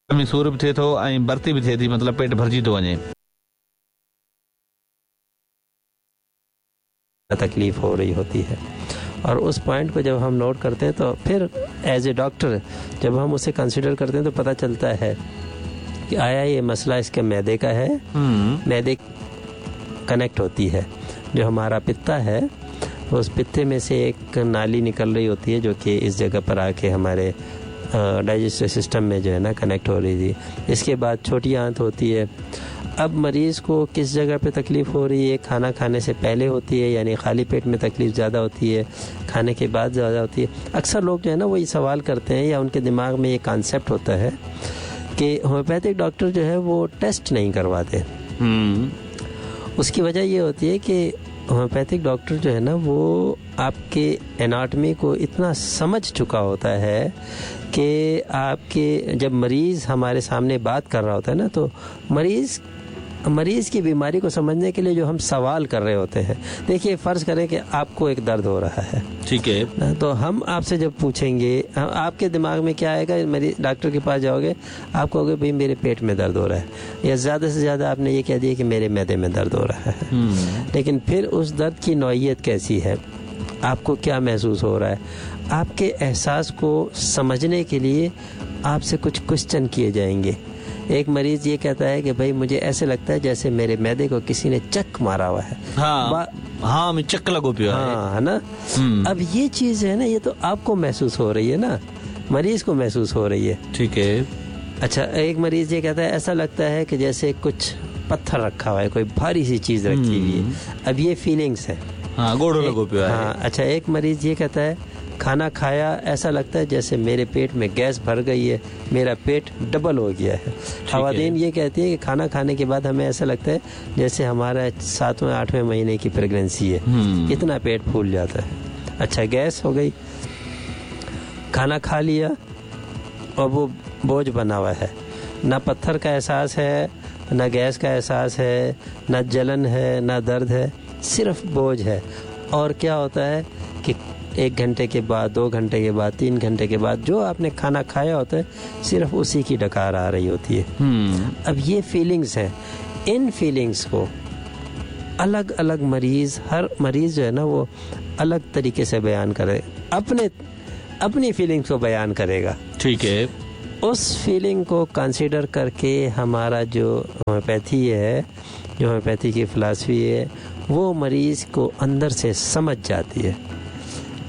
۾ سور به ٿئي ٿو ۽ ڀرتي به ٿئي ٿي مطلب پيٽ ڀرجي ٿو وڃي. तकलीफ हो रही होती है और उस पॉइंट को जब हम नोट करते हैं तो फिर एज ए डॉक्टर जब हम उसे कंसिडर करते हैं तो पता चलता है कि आया ये मसला इसके मैदे का है। मैदे कनेक्ट होती है, जो हमारा पित्ता है उस पित्ते में से एक नाली निकल रही होती है जो कि इस जगह पर आके हमारे डाइजेस्टिव सिस्टम में जो है ना कनेक्ट हो रही थी। इसके बाद छोटी आंत होती है। अब मरीज़ को किस जगह पे तकलीफ़ हो रही है, खाना खाने से पहले होती है यानी खाली पेट में तकलीफ़ ज़्यादा होती है, खाने के बाद ज़्यादा होती है। अक्सर लोग जो है ना वो ये सवाल करते हैं या उनके दिमाग में ये कॉन्सेप्ट होता है कि होम्योपैथिक डॉक्टर जो है वो टेस्ट नहीं करवाते। उसकी वजह ये होती है कि होम्योपैथिक डॉक्टर जो है ना वो आपके एनाटमी को इतना समझ चुका होता है कि आपके जब मरीज़ हमारे सामने बात कर रहा होता है ना तो मरीज़ की बीमारी को समझने के लिए जो हम सवाल कर रहे होते हैं, देखिए फ़र्ज़ करें कि आपको एक दर्द हो रहा है, ठीक है ना, तो हम आपसे जब पूछेंगे आपके दिमाग में क्या आएगा, मरीज डॉक्टर के पास जाओगे आप कहोगे भाई मेरे पेट में दर्द हो रहा है, या ज़्यादा से ज़्यादा आपने ये कह दिया कि मेरे मैदे में दर्द हो रहा है। लेकिन फिर उस दर्द की नौइयत कैसी है, आपको क्या महसूस हो रहा है, आपके एहसास को समझने के लिए आपसे कुछ क्वेश्चन किए जाएंगे। एक मरीज़ ये कहता है कि भाई मुझे ऐसे लगता है जैसे मेरे मैदे को किसी ने चक मारा हुआ है। हाँ, हाँ, मैं चक लगो पियो है। हाँ, है ना। अब ये चीज़ है ना, ये तो आपको महसूस हो रही है ना, मरीज़ को महसूस हो रही है, ठीक है। अच्छा, एक मरीज़ ये कहता है ऐसा लगता है कि जैसे कुछ पत्थर रखा हुआ है, कोई भारी सी चीज़ रखी हुई है। अब ये फीलिंग्स है। हाँ, गोड़ो लगो पियो है। हाँ, अच्छा, एक मरीज़ ये कहता है खाना खाया ऐसा लगता है जैसे मेरे पेट में गैस भर गई है, मेरा पेट डबल हो गया है। खवातीन ये कहती है कि खाना खाने के बाद हमें ऐसा लगता है जैसे हमारा 7वें 8वें महीने की प्रेगनेंसी है, इतना पेट फूल जाता है। अच्छा, गैस हो गई, खाना खा लिया और वो बोझ बना हुआ है, ना पत्थर का एहसास है, ना गैस का एहसास है, ना जलन है, ना दर्द है, सिर्फ बोझ है। और क्या होता है कि 1 घंटे के बाद, 2 घंटे के बाद, 3 घंटे के बाद जो आपने खाना खाया होता है सिर्फ उसी की डकार आ रही होती है। अब ये फीलिंग्स हैं, इन फीलिंग्स को अलग अलग मरीज़, हर मरीज़ जो है ना वो अलग तरीके से बयान करे, अपने अपनी फीलिंग्स को बयान करेगा, ठीक है। उस फीलिंग को कंसीडर करके हमारा जो होम्योपैथी है, जो होम्योपैथी की फ़िलासफ़ी है, वो मरीज़ को अंदर से समझ जाती है।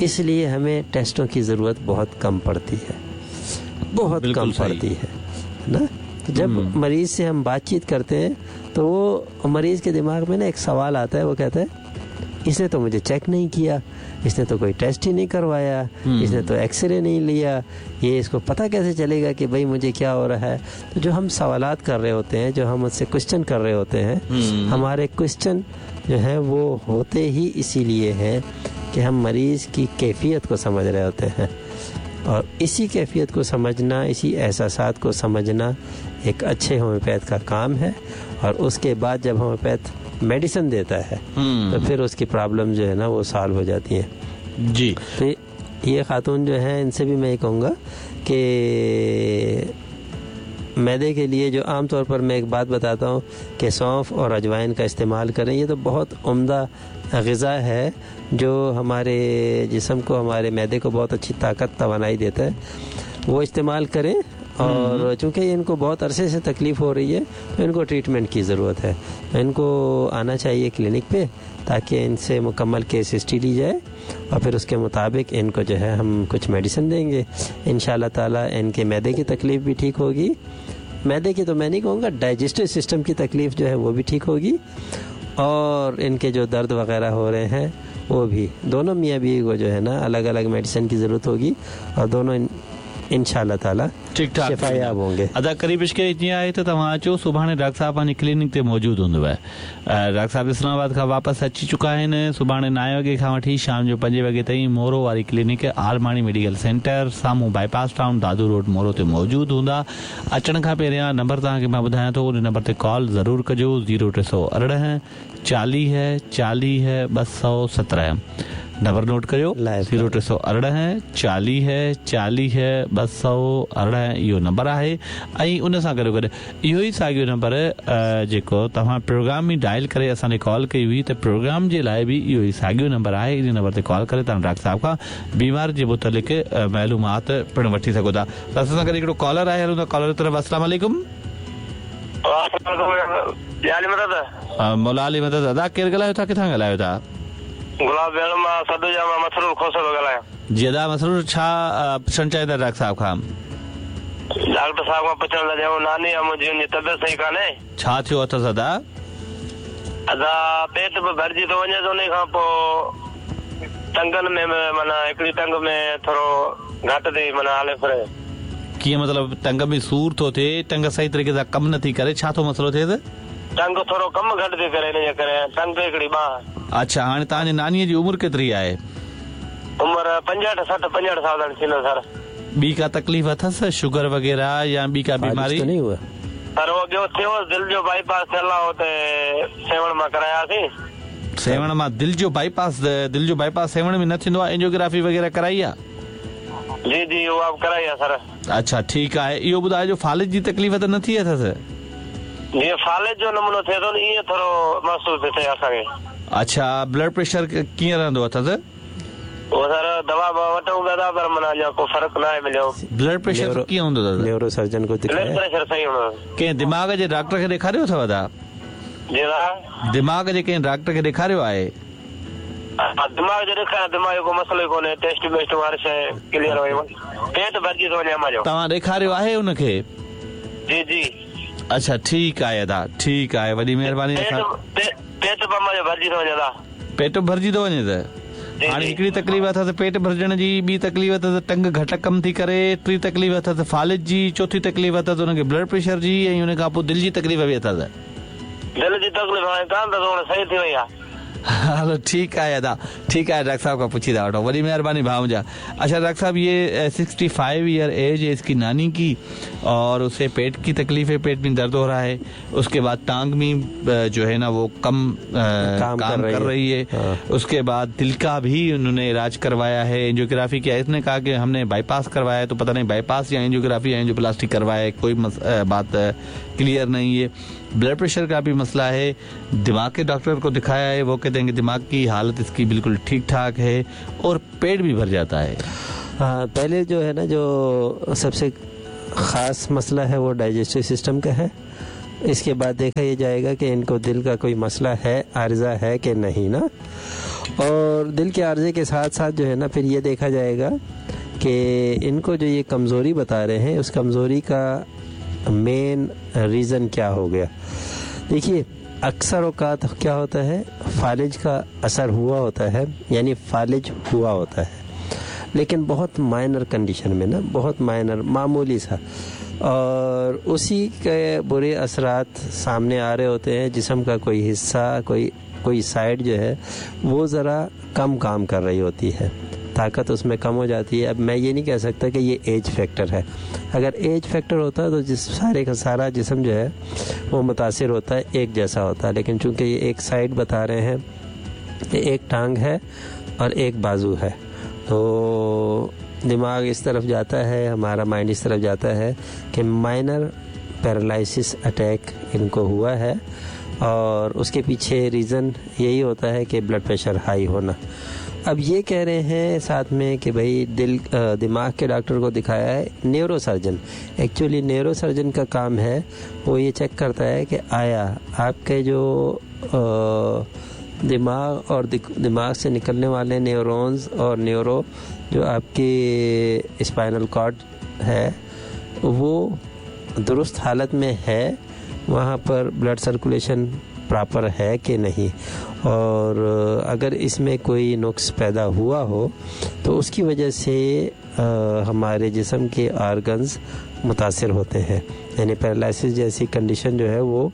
इसलिए हमें टेस्टों की ज़रूरत बहुत कम पड़ती है, बहुत कम पड़ती है ना। तो जब मरीज़ से हम बातचीत करते हैं तो वो मरीज़ के दिमाग में ना एक सवाल आता है, वो कहता है इसने तो मुझे चेक नहीं किया, इसने तो कोई टेस्ट ही नहीं करवाया, इसने तो एक्सरे नहीं लिया, ये इसको पता कैसे चलेगा कि भाई मुझे क्या हो रहा है। तो जो हम सवालात कर रहे होते हैं, जो हम उससे क्वेश्चन कर रहे होते हैं, हमारे क्वेश्चन जो है वो होते ही इसीलिए हैं कि हम मरीज़ की कैफियत को समझ रहे होते हैं। और इसी कैफियत को समझना, इसी एहसासात को समझना एक अच्छे होम्योपैथ का काम है। और उसके बाद जब होम्योपैथ मेडिसिन देता है तो फिर उसकी प्रॉब्लम जो है ना वो सॉल्व हो जाती है। जी, तो ये खातून जो है इनसे भी मैं कहूँगा कि मैदे के लिए जो आम तौर पर मैं एक बात बताता हूँ कि सौंफ और अजवाइन का इस्तेमाल करें, ये तो बहुत उम्दा ग़िज़ा है जो हमारे जिस्म को, हमारे मैदे को बहुत अच्छी ताकत, तवानाई देता है, वो इस्तेमाल करें। और चूँकि इनको बहुत अरसे से तकलीफ़ हो रही है तो इनको ट्रीटमेंट की ज़रूरत है, तो इनको आना चाहिए क्लिनिक पे ताकि इनसे मुकम्मल केस हिस्ट्री ली जाए और फिर उसके मुताबिक इनको जो है हम कुछ मेडिसिन देंगे। इंशाअल्लाह ताला इनके मैदे की तकलीफ़ भी ठीक होगी, मैदे की तो मैं नहीं कहूँगा, डाइजेस्टिव सिस्टम की तकलीफ़ जो है वो भी ठीक होगी, और इनके जो दर्द वगैरह हो रहे हैं वो भी। दोनों मियाँ बीवी को जो है ना अलग अलग मेडिसिन की ज़रूरत होगी और दोनों इंशाअल्लाह ताला ठीक ठाक शिफायाब होंगे। अदा करीब इश्क जीअं आहे त तव्हां अचो, सुभाणे डॉक्टर साहब पंहिंजे क्लिनिक ते मौजूदु हूंदव। डॉक्टर साहब इस्लामाबाद खां वापसि अची चुका आहिनि। सुभाणे 9 वॻे खां वठी शाम जो 5 वॻे ताईं मोरो वारी क्लिनिक आलमाणी मेडिकल सेंटर साम्हूं bypass town Dadu road Moro ते मौजूदु हूंदा। अचण खां पहिरियां नंबर तव्हांखे मां ॿुधायां थो, उन नंबर ते कॉल ज़रूरु कजो। 0318 40 40 217 नंबर नोट करियो 0318 40 40 218 इहो नंबर आहे ऐं उन सां गॾोगॾु इहो ई साॻियो नंबर जेको तव्हां प्रोग्राम में डायल करे असांखे कॉल कई हुई त प्रोग्राम जे लाइ बि इहो ई साॻियो नंबर आहे। इन नंबर ते कॉल करे तव्हां डॉक्टर साहब खां बीमारी जे मुतालिक़ मालूमात पिणु वठी सघो था। त असां सां गॾु हिकिड़ो कॉलर आहे, हलूं था कॉलर तरफ़। अस्सलाम वालेकुम। मौला अली मदद। अदा केरु ॻाल्हायो था, किथां ॻाल्हायो था? गुलाब भेण मां सदुजा मां मसरूर खोसो थो ॻाल्हायां। जी अदा मसरूर, छा पुछणु चाहींदा डॉक्टर साहब खां? डॉक्टर साहब खां पुछणु था चाहूं, नानी आहे मुंहिंजी, उनजी तबियत सही कान्हे। छा थियो अथसि अदा? अदा पेट बि भरिजी थो वञे, उन खां पोइ टंगनि में माना हिकिड़ी टंग में थोरो घटि थी माना हले फिरे। कीअं मतिलबु टंग में सूर थो थिए, टंग सही तरीक़े सां कमु नथी करे, छा थो मसइलो थिए? टंग थोरो कमु घटि थी करे, इन जे करे टंग हिकिड़ी ॿांह। अच्छा, हाणे तव्हांजी नानीअ जी उमिरि केतिरी आहे? उमिरि 65 60 65 साल थींदो सर। ॿी का तकलीफ़ अथसि, शुगर वग़ैरह या ॿी का बीमारी? नहीं हुआ सर, उहो ॿियो थियो, दिलि जो बाईपास थियल आहे, हुते सेवण मां करायासीं। सेवण मां दिलि जो बाईपास? दिलि जो बाईपास सेवण में न थींदो आहे, एंजियोग्राफी वग़ैरह कराई आहे? जी जी, उहा बि कराई आहे सर। अच्छा ठीकु आहे। इहो ॿुधाइजो, फालिज जी तकलीफ़ त न थी अथसि? जीअं फालिज जो नमूनो थिए थो न, ईअं थोरो महसूसु थिए असांखे। अच्छा, ब्लड प्रेशर कीअं रहंदो अथसि? उहो सर दवा वठूं पिया था, पर माना अञा को फ़र्क़ु न आहे मिलियो। ब्लड प्रेशर कीअं हूंदो अथसि? न्यूरो सर्जन को ब्लड प्रेशर सही हूंदो। कंहिं दिमाग़ जे डॉक्टर खे ॾेखारियो अथव अदा? जी दा, दिमाग़ जे कंहिं डॉक्टर खे ॾेखारियो आहे? दिमाग़ जो ॾेखारियो, दिमाग़ जो को मसइलो ई कोन्हे, टेस्ट वेस्ट हर शइ क्लियर हुई, पेट भरिजी थो वञे अम्मा जो। तव्हां ॾेखारियो आहे उनखे? जी जी। अच्छा ठीकु आहे अदा, ठीकु आहे, वॾी महिरबानी। पेट बि अम्मा जो भरिजी थो वञे अदा। पेट भरिजी थो वञे त हाणे हिकिड़ी तकलीफ़ अथसि पेट भरिजण जी, ॿी तकलीफ़ अथसि टंग घटि कमु थी करे, टी तकलीफ़ अथसि फालिज जी, चोथी तकलीफ़ अथसि हुनखे ब्लड प्रेशर जी, ऐं उन खां पोइ दिलि जी तकलीफ़ बि अथसि। दिलि जी तकलीफ़ हाणे कान अथसि, सही थी वई आहे। हलो ठीकु आहे अदा, ठीकु आहे, डॉक्टर साहब खां पुछी था वठूं। वॾी महिरबानी भाउ मुंहिंजा। अच्छा डॉक्टर साहब, ये 65 ईयर एज है इसकी नानी की, और उसे पेट की तकलीफ है, पेट में दर्द हो रहा है, उसके बाद टांग में जो है ना वो कम काम कर रही है। हाँ। उसके बाद दिल का भी उन्होंने इलाज करवाया है, एंजियोग्राफी किया है। इसने कहा कि हमने बाईपास करवाया है, तो पता नहीं बाईपास या एंजियोग्राफी या एंजियोप्लास्टी करवाया है, कोई बात क्लियर नहीं है। ब्लड प्रेशर का भी मसला है, दिमाग के डॉक्टर को दिखाया है, वो कहते हैं कि दिमाग की हालत इसकी बिल्कुल ठीक ठाक है, और पेट भी भर जाता है। हाँ, पहले जो है ना, जो सबसे ख़ास मसला है वो डाइजेस्टिव सिस्टम का है। इसके बाद देखा ये जाएगा कि इनको दिल का कोई मसला है, आर्जा है कि नहीं ना। और दिल के आर्जे के साथ साथ जो है ना, फिर ये देखा जाएगा कि इनको जो ये कमज़ोरी बता रहे हैं, उस कमज़ोरी का मेन रीज़न क्या हो गया। देखिए, अक्सर औकात क्या होता है, फालिज का असर हुआ होता है, यानी फालिज हुआ होता है, लेकिन बहुत माइनर कंडीशन में ना, बहुत माइनर, मामूली सा, और उसी के बुरे असरात सामने आ रहे होते हैं। जिस्म का कोई हिस्सा, कोई साइड जो है वो ज़रा कम काम कर रही होती है, ताकत उसमें कम हो जाती है। अब मैं ये नहीं कह सकता कि ये एज फैक्टर है। अगर एज फैक्टर होता तो जिस सारे का सारा जिस्म जो है वो मुतासिर होता है, एक जैसा होता है। लेकिन चूंकि ये एक साइड बता रहे हैं कि एक टांग है और एक बाजू है, तो दिमाग इस तरफ जाता है, हमारा माइंड इस तरफ जाता है कि माइनर पैरालिसिस अटैक इनको हुआ है, और उसके पीछे रीज़न यही होता है कि ब्लड प्रेशर हाई होना। अब ये कह रहे हैं साथ में कि भाई दिल दिमाग के डॉक्टर को दिखाया है, neuro surgeon. Actually neuro surgeon का काम है वो ये चेक करता है कि आया आपके जो दिमाग और दिमाग से निकलने वाले न्यूरॉन्स और न्यूरो जो आपके स्पाइनल कॉर्ड है वो दुरुस्त हालत में है, वहाँ पर ब्लड सर्कुलेशन प्रॉपर है कि नहीं, और अगर इसमें कोई नुक्स पैदा हुआ हो तो उसकी वजह से हमारे जिस्म के आर्गन्स मुतासिर होते हैं, यानी पैरालिसिस जैसी कंडीशन जो है वो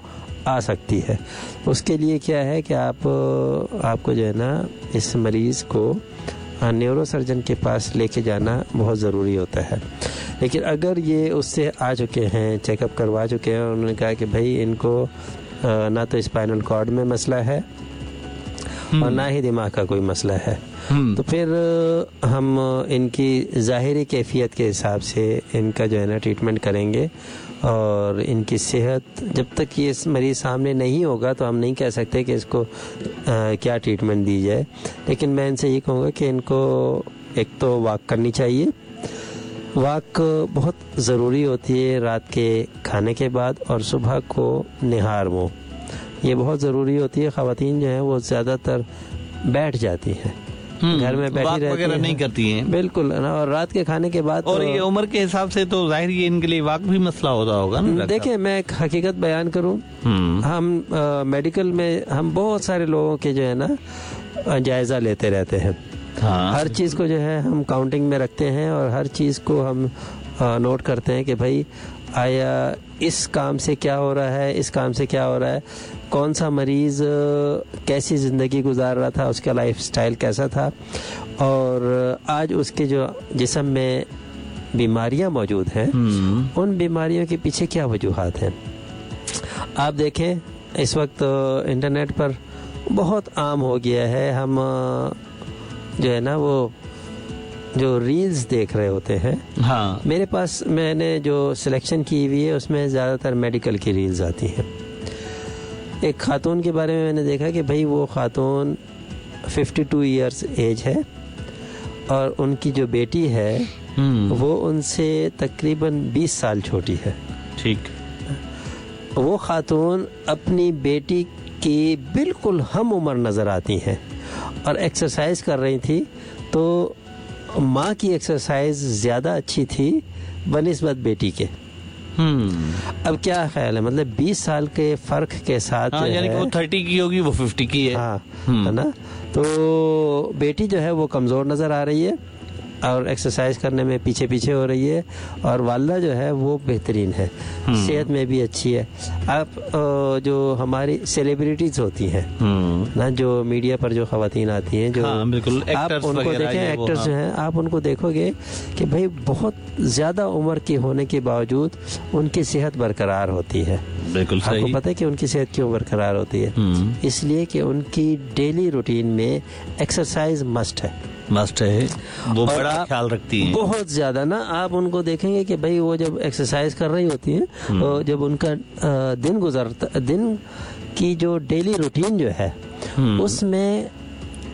आ सकती है। उसके लिए क्या है कि आपको जो है ना इस मरीज़ को न्यूरो सर्जन के पास लेके जाना बहुत ज़रूरी होता है। लेकिन अगर ये उससे आ चुके हैं, चेकअप करवा चुके हैं और उन्होंने कहा कि भाई इनको ना तो स्पाइनल कॉर्ड में मसला है और ना ही दिमाग का कोई मसला है। तो फिर हम इनकी ज़ाहिरी कैफियत के हिसाब से इनका जो है ना ट्रीटमेंट करेंगे और इनकी सेहत जब तक ये मरीज़ सामने नहीं होगा तो हम नहीं कह सकते कि इसको क्या ट्रीटमेंट दी जाए। लेकिन मैं इनसे ये कहूँगा कि इनको एक तो वॉक करनी चाहिए। वॉक बहुत ज़रूरी होती है रात के खाने के बाद और सुबह को निहार मुँह, ये बहुत ज़रूरी होती है। ख़वातीन जो हैं वो ज़्यादातर बैठ जाती हैं, घर में बैठी रहती हैं, नहीं करती हैं बिल्कुल ना। और रात के खाने के बाद और ये उम्र के हिसाब से तो जाहिर है इनके लिए वाक भी मसला होता होगा ना। देखिए मैं एक हकीकत बयान करूं, हम मेडिकल में हम बहुत सारे लोगों के जो है ना जायज़ा लेते रहते हैं। हाँ। हर चीज़ को जो है हम काउंटिंग में रखते हैं और हर चीज़ को हम नोट करते हैं कि भाई आया इस काम से क्या हो रहा है, इस काम से क्या हो रहा है, कौन सा मरीज़ कैसी ज़िंदगी गुजार रहा था, उसका लाइफ स्टाइल कैसा था और आज उसके जो जिस्म में बीमारियां मौजूद हैं उन बीमारियों के पीछे क्या वजूहात हैं। आप देखें इस वक्त इंटरनेट पर बहुत आम हो गया है, हम जो है ना वो जो रील्स देख रहे होते हैं। हाँ। मेरे पास मैंने जो सिलेक्शन की हुई है उसमें ज़्यादातर मेडिकल की रील्स आती हैं। एक खातून के बारे में मैंने देखा कि भाई वो खातून 52 इयर्स एज है और उनकी जो बेटी है वो उनसे तकरीबन 20 साल छोटी है। ठीक। वो खातून अपनी बेटी की बिल्कुल हम उम्र नज़र आती हैं और एक्सरसाइज कर रही थी, तो माँ की एक्सरसाइज ज़्यादा अच्छी थी बनिस्बत बेटी के। अब क्या ख्याल है, मतलब 20 साल के फ़र्क के साथ। हाँ, यानी कि वो 30 की होगी, वो 50 की है। हाँ, है ना। तो बेटी जो है वो कमज़ोर नज़र आ रही है और एक्सरसाइज करने में पीछे पीछे हो रही है और वालदा जो है वो बेहतरीन है, सेहत में भी अच्छी है। आप जो हमारी सेलिब्रिटीज़ होती हैं ना, जो मीडिया पर जो ख़वातीन आती हैं, जो हाँ, बिल्कुल, आप उनको देखें, एक्टर्स जो हैं, आप उनको देखोगे कि भाई बहुत ज़्यादा उम्र के होने के बावजूद उनकी सेहत बरकरार होती है। बिल्कुल सही। आपको पता है कि उनकी सेहत क्यों बरकरार होती है? इसलिए कि उनकी डेली रूटीन में एक्सरसाइज मस्ट है। मस्ट है, वो बड़ा ख्याल रखती हैं बहुत ज़्यादा ना। आप उनको देखेंगे कि भाई वो जब एक्सरसाइज कर रही होती हैं और जब उनका दिन गुजरता, दिन की जो डेली रूटीन जो है उसमें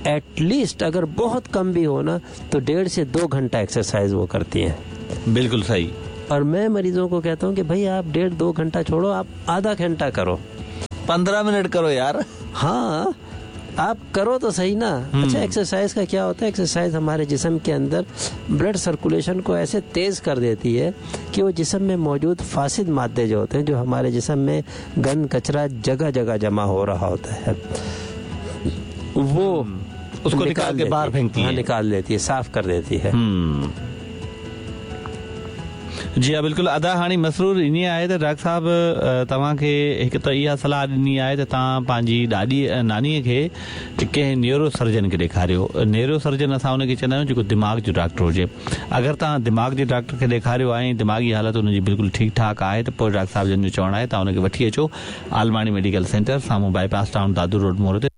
एटलीस्ट अगर बहुत कम भी हो ना तो 1.5 से 2 घंटा एक्सरसाइज वो करती हैं। बिल्कुल सही। और मैं मरीजों को कहता हूँ कि भाई आप 1.5-2 घंटा छोड़ो, आप आधा घंटा करो, 15 मिनट करो यार। हाँ, आप करो तो सही ना। अच्छा, एक्सरसाइज का क्या होता है? एक्सरसाइज हमारे जिस्म के अंदर ब्लड सर्कुलेशन को ऐसे तेज़ कर देती है कि वो जिस्म में मौजूद फासिद मादे जो होते हैं, जो हमारे जिस्म में गंद कचरा जगह जगह जमा हो रहा होता है, वो उसको निकाल के बाहर फेंकती है। हाँ, निकाल देती है, साफ कर देती है। जी हाँ, बिल्कुलु। अदा हाणे मसरूर ईअं आहे त डॉक्टर साहब तव्हांखे हिकु त इहा सलाह ॾिनी आहे त तव्हां पंहिंजी ॾाॾी नानीअ खे कंहिं न्यूरो सर्जन खे ॾेखारियो। न्यूरो सर्जन असां हुनखे चवंदा आहियूं जेको दिमाग़ जो डॉक्टर हुजे। अगरि तव्हां दिमाग़ जे डॉक्टर खे ॾेखारियो आहे ऐं दिमाग़ी हालत हुनजी बिल्कुलु ठीकु ठाक आहे त पोइ डॉक्टर साहब जन जो चवणु आहे तव्हां हुनखे वठी अचो आलमाणी मेडिकल सेंटर साम्हूं बाईपास टाउन दादू रोड मोड़ ते।